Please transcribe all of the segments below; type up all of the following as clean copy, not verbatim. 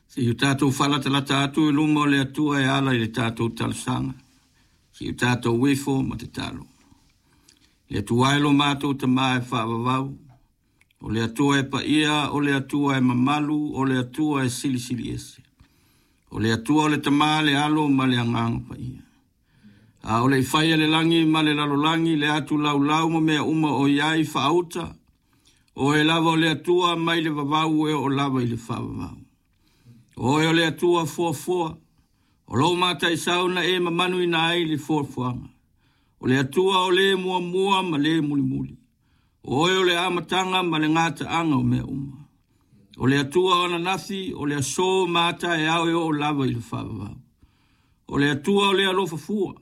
Se i o tatou faalatalata atu i luma o le Atua e ala i le tatou talosaga, se i o tatou ifo ma tatalo. Le Atua e lo matou Tama e faavavau, o le Atua e paia, o le Atua e mamalu, o le Atua e silisili ese. O le Atua o le Tama, le Alo ma le Agaga Paia. A o le i faia le lagi ma le lalolagi, le atu laulau ma mea uma o i ai faauta, Oe lava o le Atua mai le vavau e oo lava i le faavavau. Oe o le Atua foafoa, o lou mataisau na e mamanuina ai le foafoaga. O le Atua o le muamua ma le mulimuli. O oe o le amataga ma le gataaga o mea uma. O le Atua o ananafi, o le aso ma a taeao e oo lava i le faavavau. O le Atua o le alofa fua.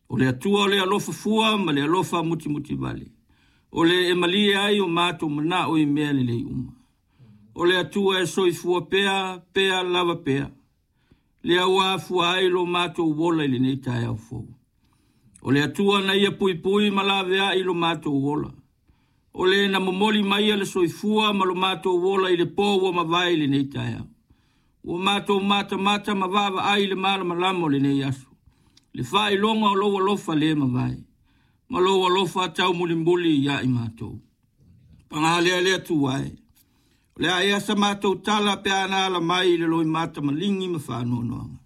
O le Atua o le alofa fua ma le alofa mutimutivale. O le e malie ai o matou manao i mea lelei uma. O le Atua e soifua pea, pea lava pea. Lea ua afua ai lo matou ola i lenei taeao fou. O le Atua na ia puipui ma laveai lo matou ola. O le na momoli maia le soifua ma lo matou ola i le po ua mavae i lenei taeao. Ua matou matamata ma vaavaai i le malamalama o lenei aso, le faailoga o lou alofa le mavae, ma lou alofa taumulimuli ia i matou. Paga lea le Atua e, o le a ea sa matou tala pe a na ala mai i le loimata maligi ma faanoanoaga.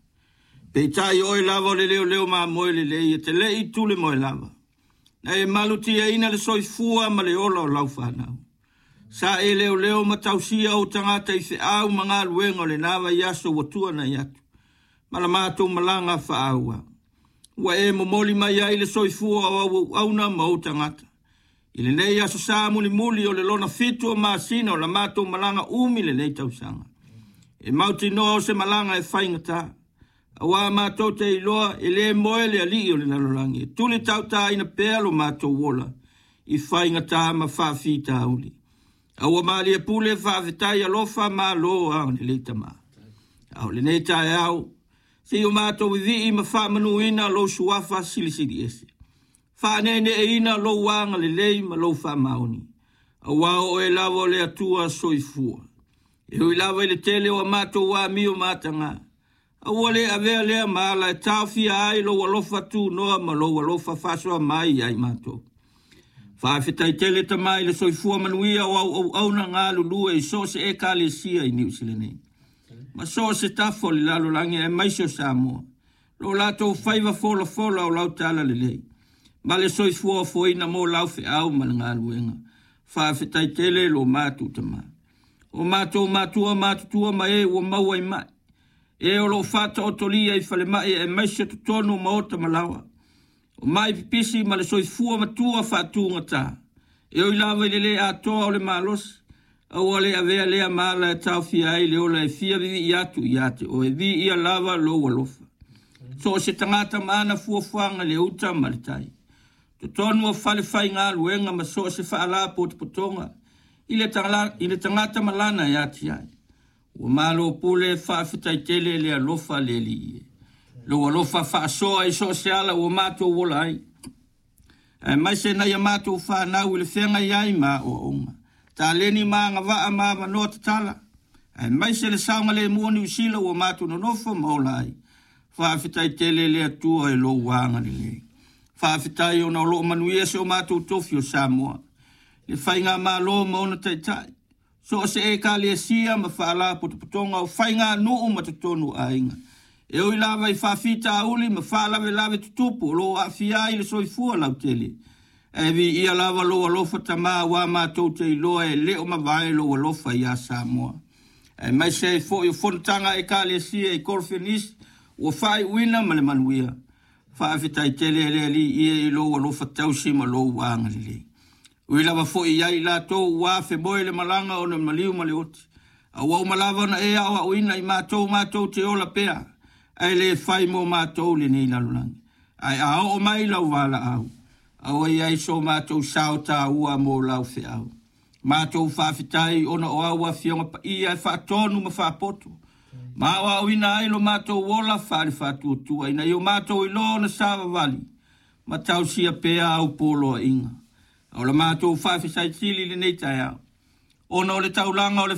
Peitai o oe lava o le leoleo mamoe lelei e te le i tule moe lava. Na e malutiaina le soifua ma le ola o lau fanau. Sa e leoleo ma tausia ou tagata i feau ma galuega o lena vaiaso ua tuanai atu, ma la matou malaga faaauau. Ua e momoli mai ai le soifua o au auauna ma ou tagata. I lenei aso sa mulimuli o le lona 7 o masina o la matou malaga umi lenei tausaga. E mautinoa o se malaga e faigata. Aua matou te iloa e le moe le alii o le lalolagi, e tuli tautaina pea lo matou ola i faigata ma faafitauli. A ua malie pule faafetai alofa malo agalelei Tama. A o lenei taeao, se i o matou vivii ma faamanuina lou suafa silisili ese. Faaneeneeina lou agalelei ma lou faamaoni. Aua o oe lava o le Atua soifua. E ui lava i le tele o a matou amio ma ataga, a ua le avea lea ma ala e taofia ai lou alofa tunoa ma lou alofa faasoa mai ia i matou. Faafetai tele Tama i le soifua manuia o au auauna galulue i so o se ekalesia i Niu Sila nei, ma so o se tafa o le lalolagi aemaise o Samoa, lo latou faiva folafola o lau talalelei, ma le soifua ofoina mo lau feau ma le galuega. Faafetai tele lo matou Tama. O matou matua matutua ma e ua maua i mai, e o lo o faataotolia i falemai aemaise o totonu o maota ma laoa, o mai pipisi ma le soifua matua faatugata, e ui lava i le le atoa o le malosi, a ua le avea lea ma ala e taofia ai le ola e fia vivii atu ia te oe, viia lava lou alofa. So o se tagata ma ana fuafuaga i le uta ma le tai. Totonu o fale faigaluega ma so o se faalapotopotoga i le tagata ma lana e atiae. Ua malo pule faafetai tele le alofa le Alii e. Lou alofa faasoa i so o se ala ua matou ola ai. Aemaise nai a matou fanau i le feagai ai ma aoaoga. Taleni ma agavaa ma avanoa tatala. Aemaise le saogalemu o Niu Sila ua matou nonofo ma ola ai. Faafetai tele le Atua i lou agalelei. Faafetai ona o loo manuia se o matou tofi o Samoa. Le faigamalo ma ona taitai. So o se ekalesia ma faalapotopotoga o faiganuu ma totonu o aiga. E ui lava i faafitauli ma faalavelave tutupu o lo o aafia ai le soifua lautele. Ae viia lava lou alofa Tama aua matou te iloa e le o mavae lou alofa ia Samoa. Aemaise ai foi o fonotaga a ekalesia i Koronifenisi ua faaiuina ma le manuia. Faafetai tele le Alii e i lou alofa tausi ma lou agalelei. Ui lava foi ia i latou ua afemoe le malaga ona maliu ma le oti. A ua uma lava ona e aoaoina i matou matou te ola pea, ae le fai mo matou lenei lalolagi. Ae a oo mai lau valaau, aua i ai so matou sao taua mo lau feau. Matou faafetai ona o au afioga paia e faatonu ma faapoto. Ma aoaoina ai lo matou ola faale faatuatua ina ia o matou iloa ona savavali ma tausia pea au poloaiga. A o la matou faafesaitili i lenei taeao, ona o le taulaga o le